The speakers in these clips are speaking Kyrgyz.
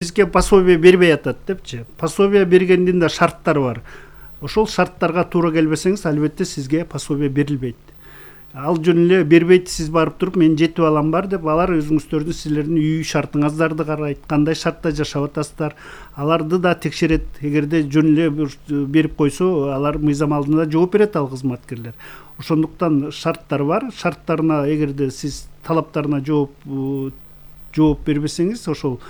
Бизге пособие бербей атат депчи. Пособие бергендин да шарттары бар. Ошол шарттарга туура келбесеңиз, албетте сизге пособие берилбейт. Ал жөн эле бербейт, сиз барып туруп мен жетип алам бар деп, алар өзүңүздөрдүн силердин үй шартыңыздарды карайт, кандай шартта жашап атасыздар, аларды да текшерет. Эгерде жөн эле берип койсо, алар мыйзам алдында жооп берет ал кызматкерлер. Ошондуктан шарттар бар. Шарттарына эгерде сиз талаптарына жооп бербесеңиз, ошол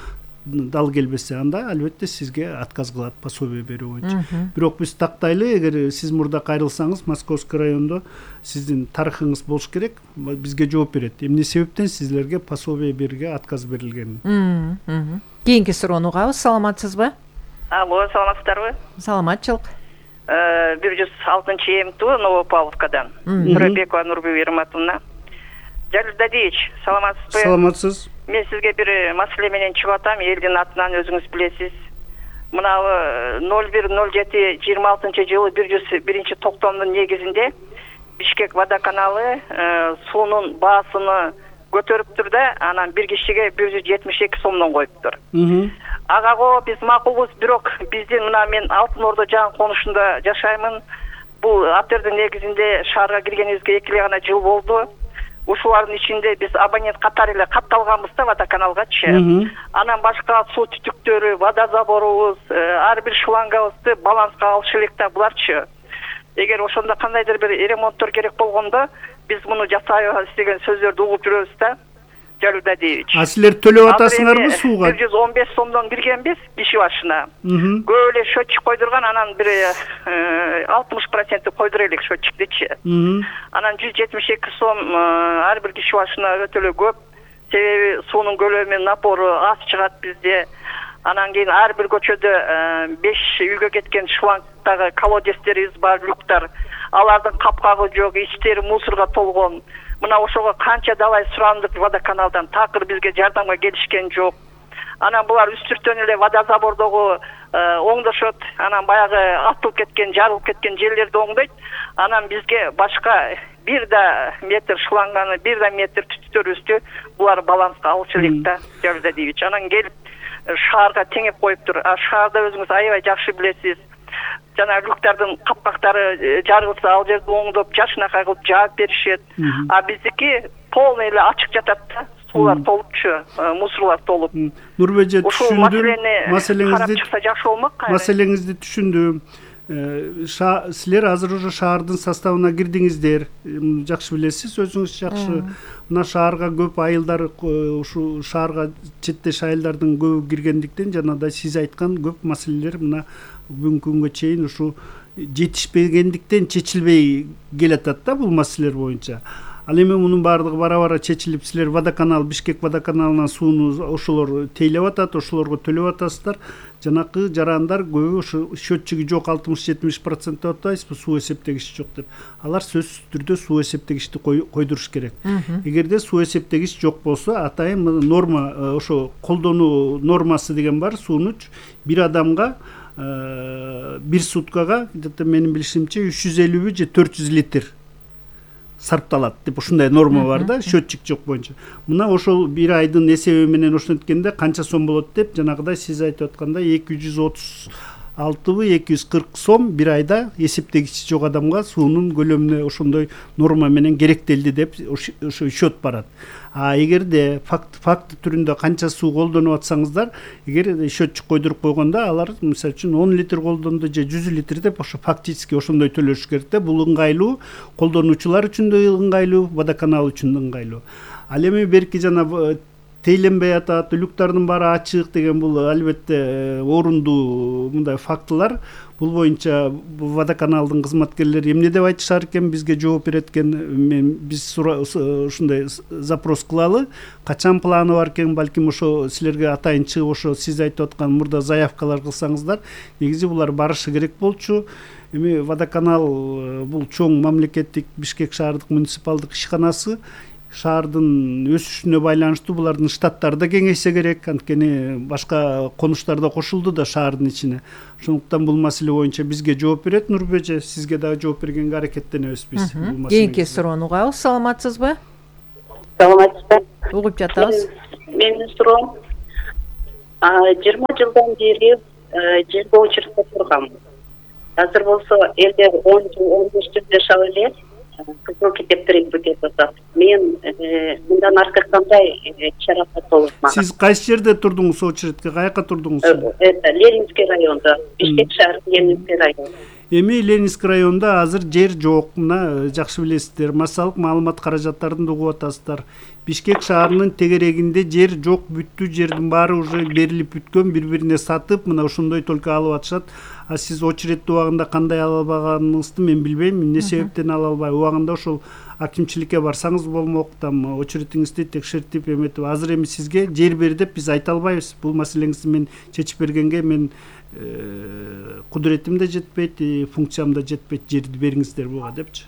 дал келбесе, анда албетте сизге отказ кылат пособие берүү боюнча. Бирок биз тактайлы, эгер сиз мурда кайрылсаңыз, Московский райондо сиздин тарыхыңыз болуш керек, бизге жооп берет. Эмне себептен сизлерге пособие берүүгө отказ берилгенин. Кийинки суроону угабыз. Саламатсызбы? Алло, саламатсыздарбы? Саламатчылык. 106-МТУ Новопавловкадан. Нурбекова Нурбек Ерматовна. Жалил Дадиевич, саламатсызбы? Саламатсыз. Мен сизге бир маселе менен чыгып атам, элдин атынан өзүңүз билесиз. Мына 01/07/26-жылы 101-токтомдун негизинде Бишкек водоканалы суунун баасыны көтөрүптүр да, анан бир кишиге 172 сомдон коюптур. Ага биз макулбуз, бирок биздин мына мен Алтын Ордо жаңы конушунда жашаймын. Бул атердин негизинде шаарга киргенибизге 2 гана жыл болду. Ушулардын ичинде биз абонент катары эле катталганбыз да водоканалгачы. Анан башка суу түтүктөрү, водозаборубуз, ар бир шлангыбызды баланска алыш элек да буларчы. Эгер ошондо кандайдыр бир ремонттор керек болгондо, биз муну жасайбыз деген сөздөрдү угуп жүрөбүз да. Жалил Дадиевич. Силер төлөп атасыңарбы сууга? 115 сомдон киргенбиз киши башына. Көп эле счетчик койдурган, анан бир 60% койдура элек счетчикти. Анан 172 сом ар бир киши башына өтө эле көп. Себеби суунун көлөмү, напору аз чыгат бизде. Анан кийин ар бир көчөдө 5 үйгө кеткен шлангдагы колодецтерибиз бар, люктар. Алардын капкагы жок, ичтери мусорго толгон. Мына ошого канча далай сурандык водоканалдан, такыр бизге жардамга келишкен жок. Анан булар үстүртөн эле водозабордогу оңдошот, анан баягы атылып кеткен, жарылып кеткен жерлерди оңдойт. Анан бизге башка бир да метр шланганы, бир да метр түтүктөрүбүздү булар баланска алыш элек да, Жалил Дадиевич. Анан келип шаарга теңеп коюптур. Шаарда өзүңүз аябай жакшы билесиз. Жана люктардын капкактары жарылса, ал жерди оңдоп, жашынакай кылып жаап беришет. А биздики полный эле ачык жатат да. Суулар толупчу, мусорлар толуп. Нурбеже, түшүндүм. Маселеңизди чыкса жакшы болмок. Маселеңизди түшүндүм. Силер азыр уже шаардын составына кирдиңиздер. Жакшы билесиз, өзүңүз жакшы. Мына шаарга көп айылдар, ушу шаарга четтеш айылдардын көбү киргендиктен, жанагындай сиз айткан көп маселелер мына бүгүнкү күнгө чейин ушу жетишпегендиктен чечилбей келатат да бул маселелер боюнча. Ал эми мунун баардыгы бара-бара чечилип, силер водоканал, Бишкек водоканалынан сууну ошолор тейлеп атат, ошолорго төлөп атасыздар. Жанакы жарандар көбү ошо счетчиги жок, 60-70% деп атпайсызбы, суу эсептегичи жок деп. Алар сөзсүз түрдө суу эсептегичти койдуруш керек. Эгерде суу эсептегич жок болсо, атайын норма, ошо колдонуу нормасы деген бар, сууну бир адамга бир суткага, менин билишимче 350 же 400 литр сарпталат деп ушундай норма бар да, счетчик жок боюнча. Мына ошол бир айдын эсеби менен ошенткенде канча сом болот деп, жанагыдай сиз айтып аткандай 240 сом бир айда эсептегичи жок адамга суунун көлөмүнө ошондой норма менен керектелди деп ошо счет барат. А эгерде факт түрүндө канча суу колдонуп атсаңыздар, эгер счетчик койдуруп койгондо, алар мисалы үчүн 10 литр колдонду же 100 литр деп ошо фактически ошондой төлөш керек да. Бул ыңгайлуу, колдонуучулар үчүн да ыңгайлуу, водоканал үчүн да ыңгайлуу. Ал эми берки жана тейленбей атат, люктардын баары ачык деген бул албетте орундуу мындай фактылар. Бул боюнча водоканалдын кызматкерлери эмне деп айтышар экен, бизге жооп берет экен. Биз ушундай запрос кылалы. Качан планы бар экен, балким ошо силерге атайын чыгып ошо сиз айтып аткан мурда заявкалар кылсаңыздар, негизи булар барышы керек болчу. Эми водоканал бул чоң мамлекеттик Бишкек шаардык муниципалдык ишканасы. Шаардын өсүшүнө байланыштуу булардын штаттары да кеңейсе керек, анткени башка конуштар да кошулду да шаардын ичине. Ошондуктан бул маселе боюнча бизге жооп берет Нурбеже, сизге дагы жооп бергенге аракеттенебиз биз. Кийинки суроону угабыз. Саламатсызбы? Саламатсызбы? Угуп жатабыз. Менин суроом 20 жылдан бери жерге очередте тургам. Азыр болсо элдер 10 жыл 15 жыл жашап эле кызыл китептер өтүп атат. Мен мындан аркы кандай чара болот? Сиз кайсы жерде турдуңуз очередке? Каяка турдуңуз? Ленинский районда, Бишкек шаары Ленинский район. Эми Ленинский районда азыр жер жок. Мына жакшы билесиздер. Массалык маалымат каражаттарын угуп атасыздар. Бишкек шаарынын тегерегинде жер жок, бүттү, жердин баары уже берилип бүткөн, бири-бирине сатып, мына ошондой только алып атышат. А сиз очередти убагында кандай ала албаганыңызды мен билбейм. Эмне себептен ала албай? Убагында ошол акимчиликке барсаңыз болмок, там очередиңизди текшертип эметип, азыр эми сизге жер бер деп биз айта албайбыз. Бул маселеңизди мен чечип бергенге мен кудуретим да жетпейт, функциям да жетпейт, жерди бериңиздер буга депчи.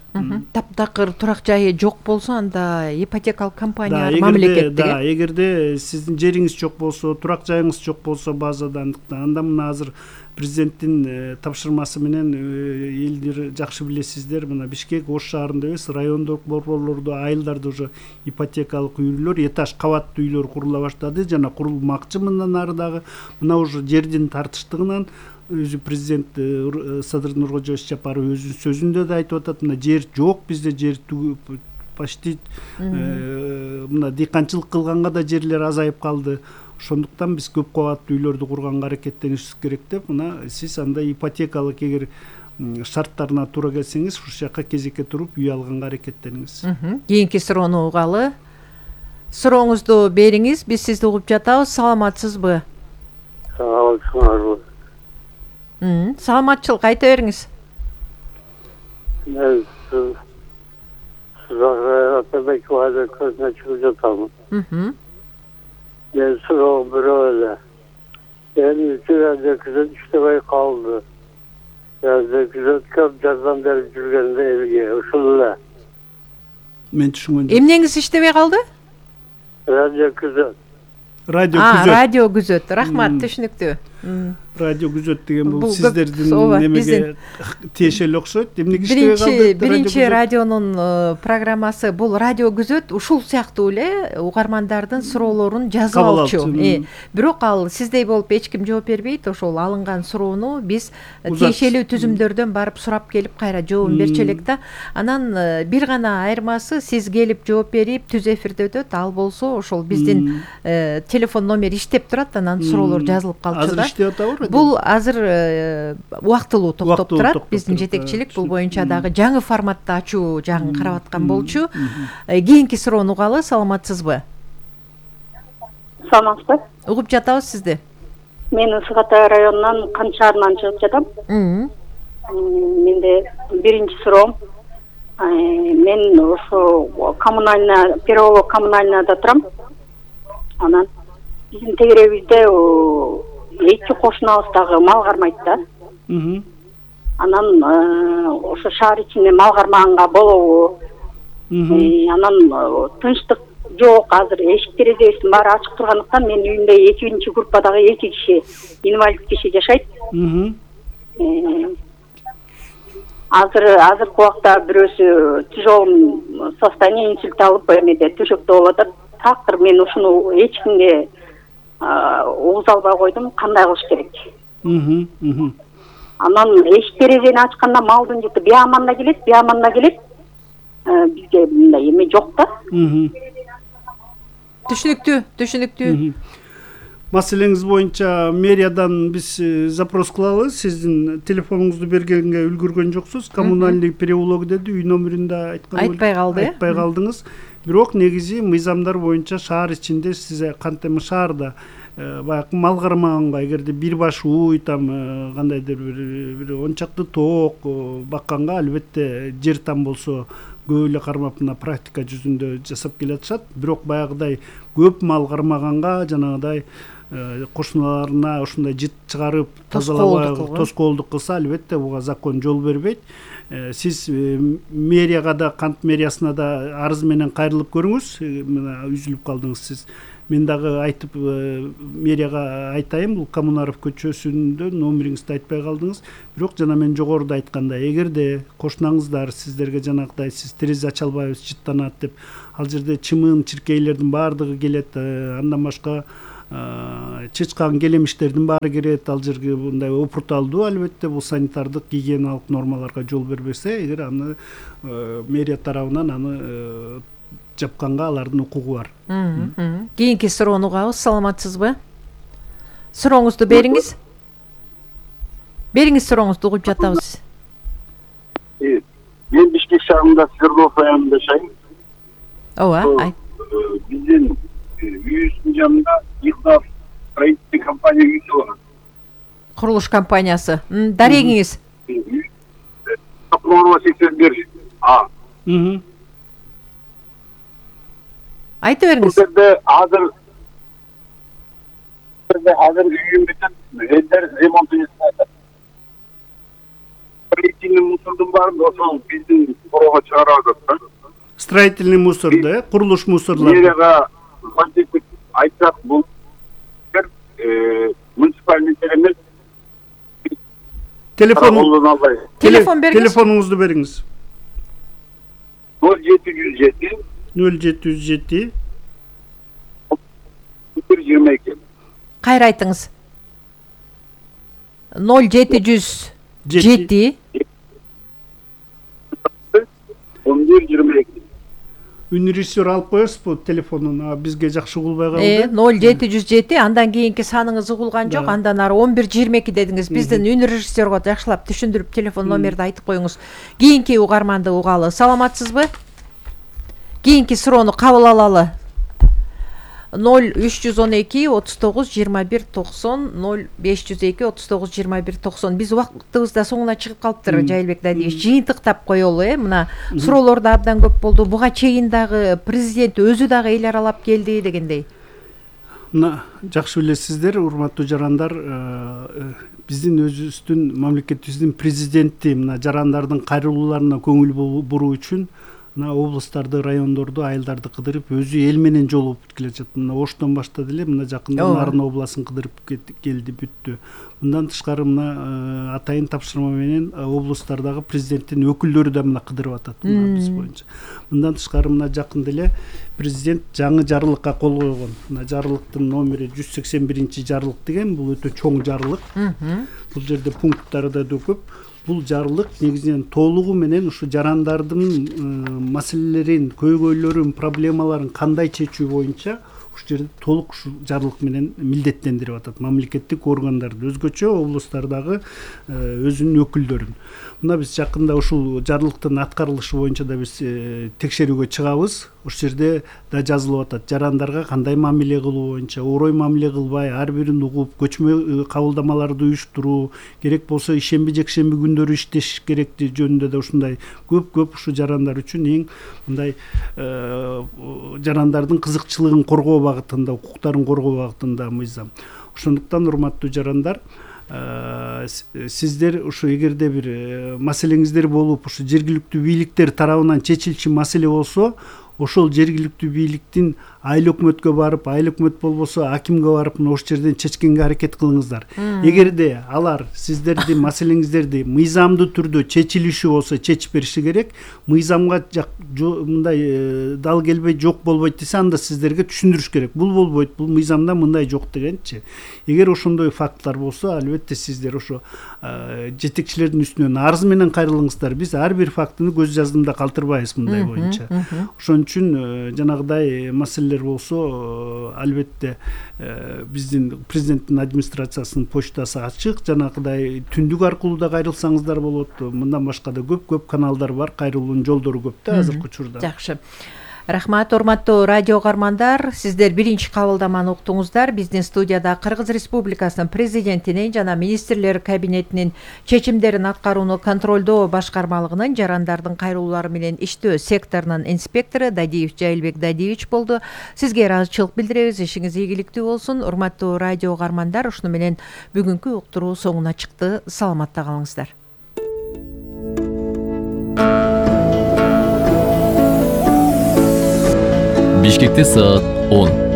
Таптакыр турак жайы жок болсо анда ипотекалык компаниялар мамлекеттик. Эгерде сиздин жериңиз жок болсо, турак жайыңыз жок болсо базада, анда мына азыр президенттин тапшырмасы менен элдер жакшы билесиздер, мына Бишкек Ош шаарында эмес, райондук борборлордо, айылдарда уже ипотекалык үйлөр, этаж кабаттуу үйлөр курула баштады жана курулмакчы. Мындан ары дагы мына уже жердин тартыштыгынан өзү президент Садыр Нуркожоевич Жапаров өзүнүн сөзүндө да айтып атат, мына жер жок, бизде жер почти мына дыйканчылык кылганга да жерлер азайып калды. Ошондуктан биз көп кабаттуу үйлөрдү курганга аракеттенишибиз керек деп, мына сиз андай ипотекалык эгер шарттарына туура келсеңиз, ушул жака кезекке туруп үй алганга аракеттениңиз. Кийинки суроону угалы. Сурооңузду бериңиз, биз сизди угуп жатабыз. Саламатсызбы? Саламатсызбы. Саламатчылык айта бериңиз. Мен сизге Атабековага көзүнө чыгып жатамын. Мен суроом бирөө эле. Эми үчүгө күзөт иштебей калды. Күзөт көп жардам берип жүргөндө элге ушул эле. Мен түшүнгөн. Эмнеңиз иштебей калды? Радио күзөт. Радио күзөт. Рахмат, түшүнүктүү. Радио күзөт деген бул сиздердин немеге тиешелүү окшойт. Эмнеге иштебей калды? Биринчи радионун программасы бул радио күзөт ушул сыяктуу эле угармандардын суроолорун жазып алчу. Бирок ал сиздей болуп эч ким жооп бербейт. Ошол алынган суроону биз тиешелүү түзүмдөрдөн барып сурап келип кайра жообун берчү элек да. Анан бир гана айырмасы сиз келип жооп берип түз эфирде өтөт. Ал болсо ошол биздин телефон номер иштеп турат, анан суроолор жазылып калчу да. Бул азыр убактылуу токтоп турат. Биздин жетекчилик бул боюнча дагы жаңы форматта ачуу жагын карап аткан болчу. Кийинки суроону угалы. Саламатсызбы? Саламатсызбы? Угуп жатабыз сизди. Мен Ысык Атай районунан Кан шаарынан чыгып жатам. Менде биринчи суроом, мен ошо коммунальный, Переулок коммунальныйда турам. Анан биздин тегерегибизде эки кошунабыз дагы мал кармайт да. Анан ошо шаар ичинде мал кармаганга болобу? Анан тынчтык жок, азыр эшик терезебиздин баары ачык тургандыктан мен үйүмдө экинчи группадагы 2 киши, инвалид киши жашайт. Азыркы убакта бирөөсү тяжелый состояние, инсульт алып эмеде төшөктө болуп атат. Тактыр мен ушуну эч кимге угуз албай койдум, кандай кылыш керек? Анан эшик терезени ачканда малдын жыты бияманда келет. Бизге мындай эме жок да. Түшүнүктүү. Маселеңиз боюнча мэриядан биз запрос кылалы. Сиздин телефонуңузду бергенге үлгүргөн жоксуз. Коммунальный переулок деди, үй номерин да айтпай калдыңыз. Бирок негизи мыйзамдар боюнча шаар ичинде сиз кантем шаарда баягы мал кармаганга, эгерде бир баш уй, там кандайдыр бир 10 чакты тоок бакканга албетте жер там болсо көп эле кармап мына практика жүзүндө жасап келатышат. Бирок баягыдай көп мал кармаганга жанагыдай кошуналарына ушундай жыт чыгарып тазалабай тоскоолдук кылса, албетте буга закон жол бербейт. Сиз мэрияга да, Кант мэриясына да арыз менен кайрылып көрүңүз. Мына үзүлүп калдыңыз сиз. Мен дагы айтып мэрияга айтайын, бул Коммунаров көчөсүндө номериңизди айтпай калдыңыз. Бирок жана мен жогоруда айткандай, эгерде кошунаңыздар сиздерге жанагыдай сиз терезе ача албайбыз, жыттанат деп, ал жерде чымын, чиркейлердин баардыгы келет, андан башка чычкан келемиштердин баары кирет. Ал жерге мындай опурталдуу, албетте бул санитардык гигиеналык нормаларга жол бербесе, эгер аны мэрия тарабынан аны жапканга алардын укугу бар. Кийинки суроону угабыз. Саламатсызбы? Сурооңузду бериңиз. Бериңиз сурооңузду, угуп жатабыз. Мен Бишкек шаарында Свердлов районунда жашайм. Ооба, Биздин үйүбүздүн жанында Ихнав строительный компания үйү бар. курулуш компаниясы. Дарегиңиз. Прокуророва 81 А. Айтып бериңиз. Азыр үйүм бүтүп, элдер ремонтун жасап. Строительный мусордун баарын ошол биздин короого чыгарып атат. Строительный мусорду, курулуш мусорлар. Мэрияга айтсак, бул муниципальный эмес. Телефон бериңиз. Телефонуңузду бериңиз. 0707 0707 122. Кайра айтыңыз. 0707 1122. Үнрежиссер алып коесузбу телефонун? Бизге жакшы угулбай калды. 0707, андан кийинки саныңыз угулган жок, андан ары 1122 дедиңиз. Биздин үнрежиссерго жакшылап түшүндүрүп телефон номерди айтып коюңуз. Кийинки угарманды угалы. Саламатсызбы? Кийинки суроону кабыл алалы. 0312 39 21 90 0502 39 21 90. Биз убактыбыз да соңуна чыгып калыптыр. Жайылбек Дадиевич, жыйынтыктап коелу, мына суроолор да абдан көп болду. Буга чейин дагы президент өзү дагы эл аралап келди дегендей. Мына жакшы билесиздер, урматтуу жарандар, биздин өзүбүздүн мамлекетибиздин президенти мына жарандардын кайрылууларына көңүл буруу үчүн мына облустарды, райондорду, айылдарды кыдырып, өзү эл менен жолугуп келе жатат. Мына Оштон баштады эле, мына жакында Нарын областын кыдырып келди, бүттү. Мындан тышкары мына атайын тапшырма менен облустардагы президенттин өкүлдөрү да мына кыдырып атат, мына биз боюнча. Мындан тышкары мына жакында эле президент жаңы жарлыкка кол койгон. Мына жарлыктын номери 181 жарлык деген, бул өтө чоң жарлык. Бул жерде пункттары да көп. Бул жарлык негизинен толугу менен ушу жарандардын маселелерин, көйгөйлөрүн, проблемаларын кандай чечүү боюнча ушул жерде толук ушу жарлык менен милдеттендирип атат мамлекеттик органдарды, өзгөчө облустардагы өзүнүн өкүлдөрүн. Мына биз жакында ушул жарлыктын аткарылышы боюнча да биз текшерүүгө чыгабыз. Ушул жерде да жазылып атат. Жарандарга кандай мамиле кылуу боюнча, орой мамиле кылбай, ар бирин угуп, көчмө кабылдамаларды уюштуруу, керек болсо ишемби жекшемби күндөрү иштеш керекти жөнүндө да ушундай көп ушу жарандар үчүн эң мындай жарандардын кызыкчылыгын коргоо багытында, укуктарын коргоо багытында мыйзам. Ошондуктан урматтуу жарандар, сиздер ушу эгерде бир маселеңиздер болуп, ушу жергиликтүү бийликтер тарабынан чечилчү маселе болсо, ошол жергиликтүү бийликтин айыл өкмөткө барып, айыл өкмөт болбосо акимге барып, ошол жерден чечкенге аракет кылыңыздар. Эгерде алар сиздердин маселеңиздерди мыйзамдуу түрдө чечилиши болсо чечип бериши керек. Мыйзамга мындай дал келбей жок болбойт десе, анда сиздерге түшүндүрүш керек. Бул болбойт, бул мыйзамда мындай жок дегенчи. Эгер ошондой факттар болсо, албетте сиздер ошо жетекчилердин үстүнөн арыз менен кайрылыңыздар. Биз ар бир фактыны көз жаздымда калтырбайбыз мындай боюнча. Ошон үчүн жанагыдай маселелер болсо, албетте биздин президенттин администрациясынын почтасы ачык. Жанагыдай түндүк аркылуу да кайрылсаңыздар болот. Мындан башка да көп каналдар бар, кайрылуунун жолдору көп да азыркы учурда. Жакшы. Рахмат, урматтуу радио угармандар. Сиздер биринчи кабылдаманы уктуңуздар. Биздин студияда Кыргыз Республикасынын президентинин жана министрлер кабинетинин чечимдерин аткарууну контролдоо башкармалыгынын жарандардын кайрылуулары менен иштөө секторунун инспектору Дадиев Жайылбек Дадиевич болду. Сизге ыраазычылык билдиребиз. Ишиңиз ийгиликтүү болсун. Урматтуу радио угармандар, ушуну менен бүгүнкү уктуруу соңуна чыкты. Саламатта калыңыздар. Бишкекте саат 10.